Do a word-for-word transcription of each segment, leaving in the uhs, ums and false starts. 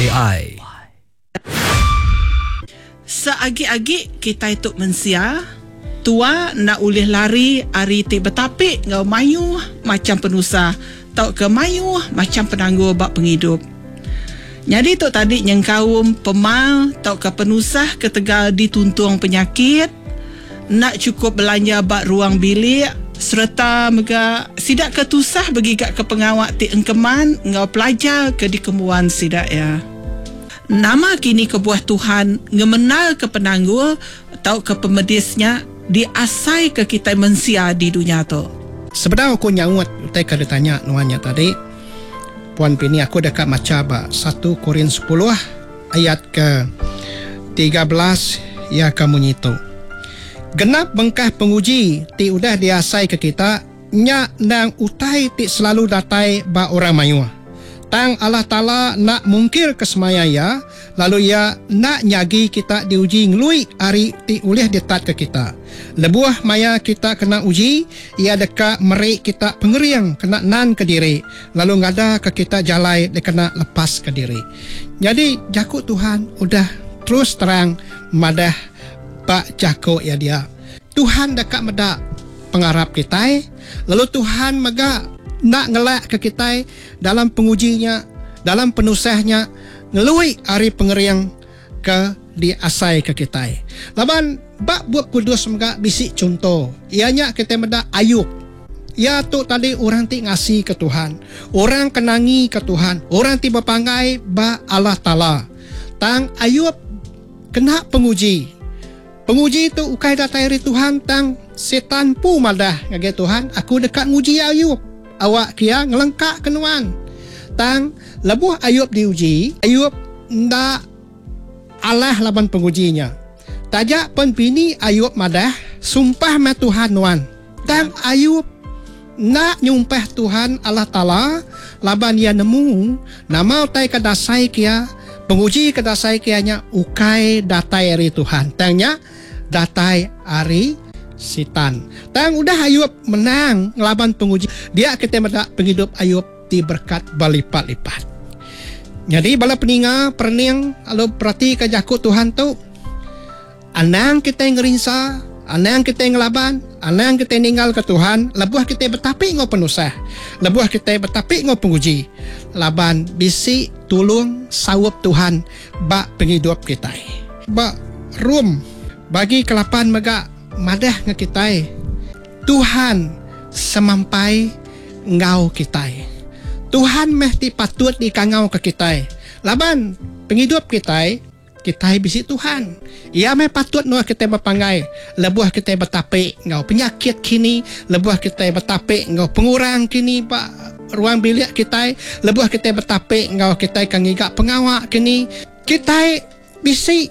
ai. Seagi-agi kitai tu mensia, tua enda ulih lari ari ti betapi enggau mayuh macham penusah tauka mayuh macham penanggul ba pengidup. Nyadi tu tadi nyengkaum pemal tauka penusah ketegal dituntung penyakit, enda chukup belanja ba ruang bilik sereta mega sida ke tusah begigaka pengawa ti engkeman enggau pelajar ke dikembuan sida iya. Nama kini kebuah Tuhan ngemendarka penanggul tauka pemedis nya diasaika kitai mensia di dunya tu? Sebedau aku nyaut utai ke ditanya nuan nya tadi, Puan Pini aku deka macha ba satu Korin sepuluh ayat ke tiga belas iya ke munyi tu. Genap bengkah penguji ti udah diasaika kita nya endang utai ti selalu datai ba orang mayuh. Tang Allah Taala enda mungkirka semaya Iya, lalu Iya enda nyagi kita diuji ngelui ari ti ulih ditatka kita. Lebuh maya kita kena uji, Iya deka meri kita pengering kena nanka diri, lalu ngadaka kita jalai dikena lepaska diri. Nyadi, jaku Tuhan udah terus terang madah ba jaku Iya dia. Tuhan deka meda pengarap kitai, lalu Tuhan mega enda ngelakka kitai dalam penguji nya, dalam penusah nya, ngelui ari pengering ke diasaika kitai. Laban ba Bup Kudus mega bisi chunto, iya nya kitai meda Ayub. Iya tu tadi orang ti ngasika Tuhan, orang ke nangika Tuhan, orang ti bepanggai ba Allah Taala. Tang Ayub kena penguji. Penguji tu ukai datai ari Tuhan tang Sitan empu madah ngagai Tuhan, Aku deka nguji Ayub, awak ke iya ngelengkaka nuan. Tang lebuh Ayub diuji, Ayub enda alah laban penguji nya. Taja pen bini Ayub madah, Sumpah meh Tuhan nuan. Tang Ayub enda nyumpah Tuhan Allah Taala laban iya nemu nama utai ke dasai ke iya, penguji ke dasai ke iya nya ukai datai ari Tuhan, tang nya datai ari Sitan. Tang udah Ayub menang ngelaban penguji, dia kitai meda pengidup Ayub diberekat belipat-lipat. Nyadi bala peninga perening lalu peratika jaku Tuhan tu, Anang kitai ngerinsa, anang kitai ngelaban, anang kitai ninggalka Tuhan lebuh kitai betapi enggau penusah, lebuh kitai betapi enggau penguji, laban bisi tulung saup Tuhan ba pengidup kitai. Ba Rom bagi ke lapan mega madah ngan kitai, Tuhan semampai enggau kitai. Tuhan meh ti patut dikangauka kitai, laban pengidup kitai Kitai bisi Tuhan. Iya meh patut endur kitai bepanggai lebuh kitai betapi enggau penyakit kini, lebuh kitai betapi enggau pengurang kini ba ruang bilik kitai, lebuh kitai betapi enggau kitai ke ngiga pengawa kini. Kitai bisi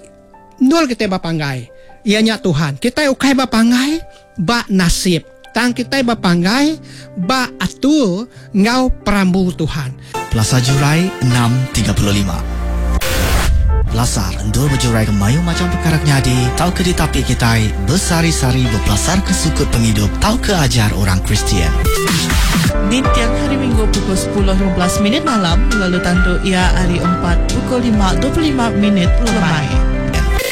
endur kitai bepanggai, iya nya Tuhan. Kitai ukai bepanggai ba nasib, tang kitai bepanggai ba atur enggau perambu Tuhan. Pelasar Jurai enam tiga puluh lima. Pelasar endur bejuraika mayuh macham pekara ke nyadi tauka ditapi kitai besehari-sehari bepelasarka sukut pengidup tauka ajar orang Kristian. Ninting Hari Minggu pukul sepuluh lima belas minit malam lalu tandu iya hari Empat pukul lima dua puluh lima minit lemai.